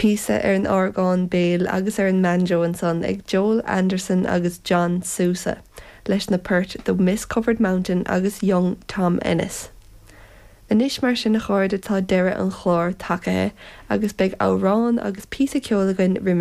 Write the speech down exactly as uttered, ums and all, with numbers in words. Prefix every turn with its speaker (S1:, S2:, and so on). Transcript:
S1: Píosa ar an orgán béil agus ar an mbanjo ansan ag Joel Anderson agus John Sousa leis na poirt The Mist Covered Mountain agus Young Tom Ennis. Anois mar sin a chairde tá deireadh an chláir tagaithe agus beidh amhrán agus píosa ceoil againn roimis